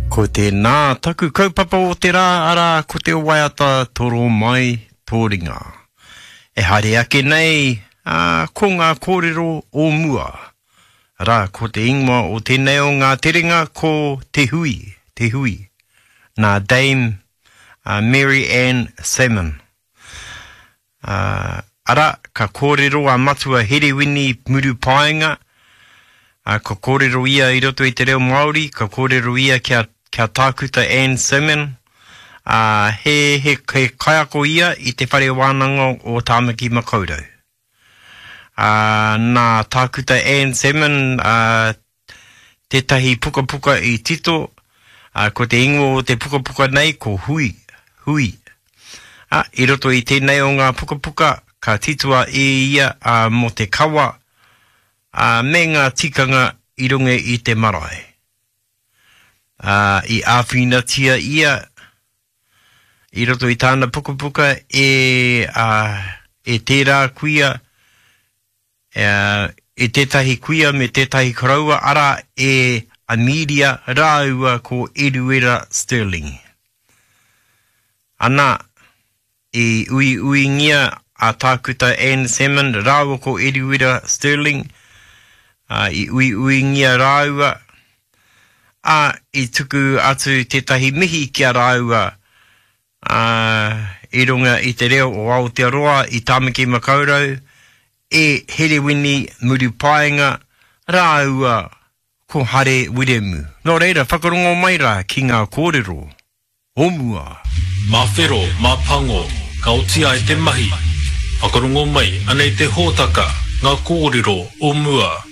Ko tēnā taku kaupapa o te rā, arā, ko te waiata Toro Mai Tō Ringa. E haere ake nei, ā, ko ngā kōrero o mua. Arā, ko te ingoa o tēnei o ngā terenga ko Te Hui, Te Hui, nā Dame Mary Ann Salmon. Ā, arā, ka kōrero a Matua Herewini Murupaenga, ā, ka kōrero ia i roto i te reo Māori, ka kōrero ia ki a, ki a Tākuta Anne Salmon, ā, he, he, he kaiako ia i te Whare Wānanga o Tāmaki Makaurau. Ā, nā Tākuta Anne Salmon, ā, tētahi pukapuka i tito, ā, ko te ingoa o te pukapuka nei ko Hui, Hui. Ā, i roto i tēnei o ngā pukapuka ka titoa e ia ā, mō te kawa, ā, me ngā tikanga i runga i te marae. Ā, i āwhinatia ia i roto i tāna pukapuka e, ā, e tērā kuia, e tētahi kuia me tētahi koroua, arā, e Amelia rāua ko Eruera Stirling. Ana, i uiuingia a Tākuta Anne Salmond rāua ko Eruera Stirling, ā, i uiuingia rāua, ā, i tuku atu tētahi mihi ki a rāua, ā, i runga i te reo o Aotearoa i Tāmaki Makaurau, e Herewini Murupaenga rāua ko Hare Wiremu. Nō reira, whakarongo mai rā ki ngā kōrero o mua. Mā whero, mā pango, ka oti ai te mahi. Whakarongo mai, anei te hōtaka, ngā kōrero o mua.